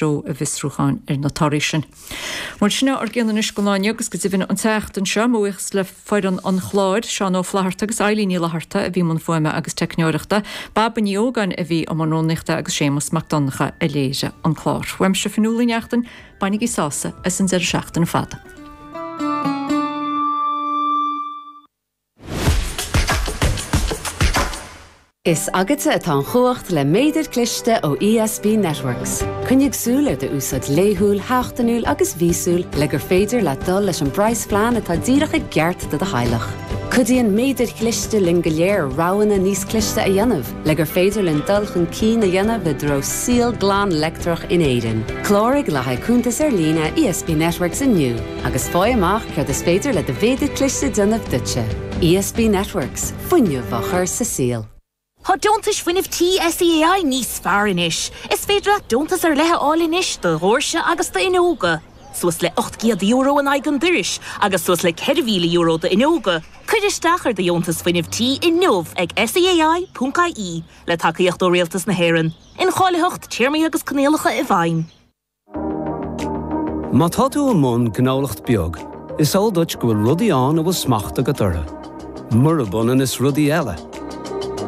Treo a bhfiosrúcháin ar na torthaí sin. Bhuel, sin é ár gcion anois don lá inniu agus go deimhin an tseachtain seo. Mo bhuíochas le foireann an chláir, Seán Ó Flatharta agus Eilín Ní Fhlatharta a bhí i mbun fuaime agus teicneoireachta, Baba Ní Ógáin a bhí i mbun rúnaíochta agus Séamus Mac Donncha a léirigh an clár. Uaimse Fionnuala Ní Neachtain, bainigí sásamh as an deireadh seachtaine fada. Is agatsa atá an chumhacht le méadar cliste ó ESB Networks. Coinnigh súil ar d'úsáid laethúil, sheachtainiúil agus mhíosúil le gur féidir leat dul leis an bpraghasphlean atá díreach i gceart do do theaghlach. Cuidíonn méadair chliste linn go léir roghanna níos cliste a dhéanamh le gur féidir linn dul chun cinn a dhéanamh i dtreo saol glan leictreach in Éirinn. Cláraigh le haghaidh cuntas ar líne ESB Networks inniu agus faigh amach céard is féidir le do mhéadar cliste déanamh duitse. ESB Networks. Fuinneamh á chur sa saol. Tá deontais fuinnimh tí SEAI níos fearr anois. Is féidir leat deontas ar leith a fháil anois do dhoirse agus d'fhuinneoga, suas le €800 in aghaidh an dorais agus suas le €4,000 d'fhuinneoga. Cuir isteach ar do dheontas fuinnimh tí inniu ag seai.ie, le tacaíocht ó Rialtas na hÉireann. Incháilitheacht, téarmaí agus coinníollacha i bhfeidhm. Má tá tú i mbun gnólacht beag, is eol duit go bhfuil rudaí ann a bhfuil smacht agat orthu, murab ionann is rudaí eile.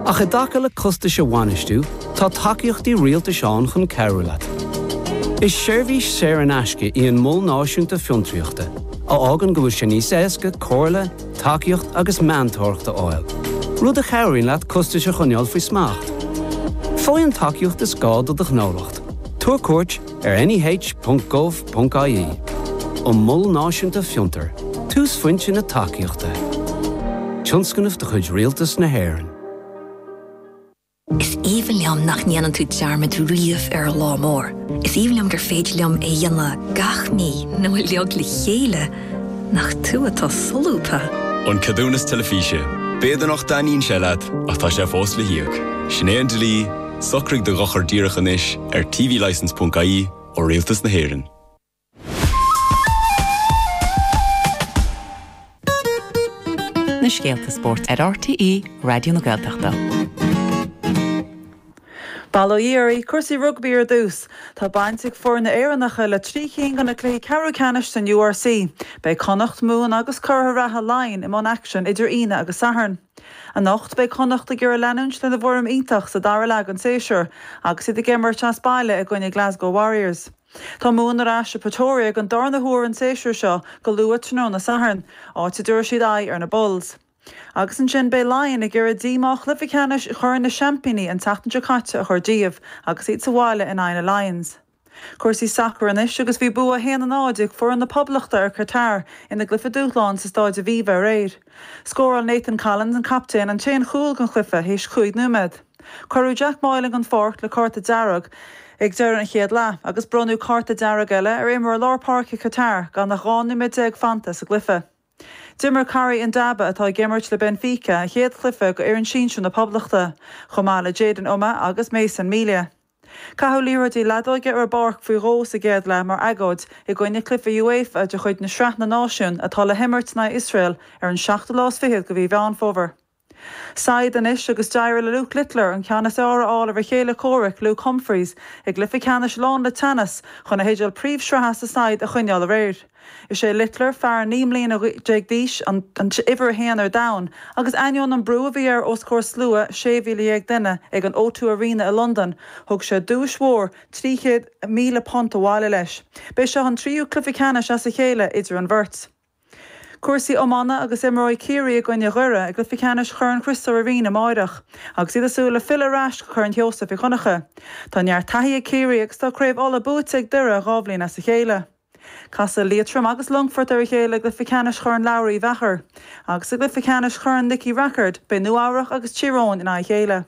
Ach i dtaca le costais a bhainistiú, tá tacaíochtaí rialtais ann chun cabhrú leat. Is seirbhís saor in aisce í an Mol Náisiúnta Fiontraíochta, a fhágann go bhfuil sé níos éasca comhairle, tacaíocht agus meantóireacht a fháil, rud a chabhraíonn leat costais a choinneáil faoi smacht. Faigh an tacaíocht is gá do do ghnólacht. Tabhair cuairt ar neh.gov.ie. An Mol Náisiúnta Fiontar, túsphointe na tacaíochta. Tionscnamh de chuid Rialtas na hÉireann. Is aoibhinn liom nach ndéanann tú dearmad riamh ar an lá mór. Is aoibhinn liom gur féidir liom é a dhéanamh gach mí nó uilig le chéile. Nach tú atá solúbtha! An Ceadúnas Teilifíse. B'fhéidir nach dtaitníonn sé leat, ach tá sé fós le híoc. Sin é an dlí. Socraigh do dhochar díreach anois ar tvlicence.ie ó Rialtas na hÉireann. Na scéalta spóirt ar RTÉ Raidió na Gaeltachta. Bail ó Dhia oraibh, cúrsaí rugbaí ar dtús. Tá baint ag foirne Éireannacha le 3 chinn de na cluichí ceathrú ceannais san URC. Beidh Connacht, Mumhan agus curaithe reatha Laighin i mbun aicsin idir Aoine agus Satharn. Anocht, beidh Connacht ag iarraidh leanúint lena bhfoirm iontach sa dara leath den séasúr agus iad ag imirt as baile i gcoinne Glasgow Warriors. Tá Mumhan ar ais i Pretoria don darna huair an séasúr seo go luath tráthnóna Sathairn, áit a dtabharfaidh siad aghaidh ar na Bulls. Agus ansin beidh Laighin ag iarraidh díomá chluiche ceannais Chorn na Seaimpíní an tseachtain seo caite a chur díobh agus iad sa bhaile in aghaidh na Lions. Cúrsaí sacair anois agus bhí bua 1-0 ag foireann na Poblachta ar Qatar ina gcluiche dúshláin sa Stáid Aviva aréir. Scóráil Nathan Collins, an captaen, an t-aon chúl den chluiche théis chúig nóiméad. Cuireadh Jack Moylan den pháirc le cárta dearg ag deireadh an chéad leath agus bronnadh cárta dearg eile ar imreoir lár páirce Qatar gan ach 12 nóiméad fanta sa gcluiche. D'imir Corrie Ndaba, atá ag imirt le Benfica, a chéad chluiche do fhoireann sinsir na Poblachta, chomh maith le Jayden Umeh agus Mason Melia. Caitheadh liathróidí leadóige ar an bpáirc faoi dhó sa gcéad leath mar agóid i gcoinne cluiche UEFA de chuid na Sraith na Náisiún atá le himirt in aghaidh Iosrael ar an seachtú lá is fichead de mhí Mheán Fómhair. Saighead anois agus d'éirigh le Luke Littler an ceann is fearr a fháil ar a chéile comhraic Luke Humphries i gcluiche ceannais lán le teannas chun a theideal príomh-shraithe sa saighead a choinneáil aréir. Is é Littler, fear 19 mbliana d'aois, an t-uimhir a haon ar domhan, agus ainneoin an brú a bhí air os comhair slua 16,000 duine ag an O2 Arena i Londain, thug sé duais mhór £300,000 abhaile leis. B'é seo an tríú cluiche ceannais as a chéile idir an bheirt. Cúrsaí iomána agus imreoidh Ciarraí i gcoinne Dhoire i gcluiche ceannais Chorn Chriostóir Uí Rinn amáireach agus iad ag súil le filleadh ar ais go Corn Sheosaimh Uí Dhonncha. Tá neart taithí ag Ciarraí agus tá Craobh Uladh buaite ag Doire 2 bhliain as a chéile. Casfaidh Liatroim agus Longfort ar a chéile i gcluiche ceannais Chorn Labhraí Uí Mheachair. Agus i gcluiche ceannais Chorn Nicky Rackard, beidh Nua Eabhrach agus Tír Eoghain in aghaidh a chéile.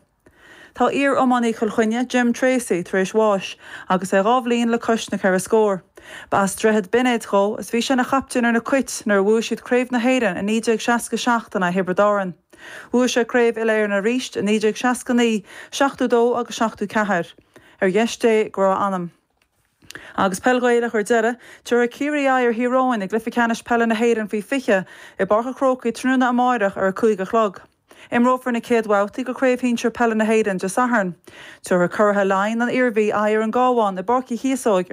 Tá iar-iománaí Chill Chainnigh, Jim Tracey, tar éis bháis agus é 2 bhliain le cois na ceithre scór. Ba as Droichead Binéid dhó is bhí sé ina chaptaen ar na Cait nuair a bhuaigh siad Craobh na hÉireann i 1967 in aghaidh Thiobraid Árann. Bhuaigh sé Craobh Uile-Éireann arís i 1969, 72 agus 74. Ar dheis Dé go raibh a anam. Agus peil Ghaelach ar deireadh, tabharfaidh Ciarraí aghaidh ar Thír Eoghain i gcluiche ceannais peile na hÉireann faoi 20 i bPáirc an Chrócaigh tráthnóna amáireach ar a 5 a chlog. Imreofar na chéad bhabhtaí de Chraobh Shinsir Peile na hÉireann Dé Sathairn. Tabharfaidh curaithe Laighean, an Iarmhí, aghaidh ar an gCabhán i bPáirc Uí Chíosóig ar.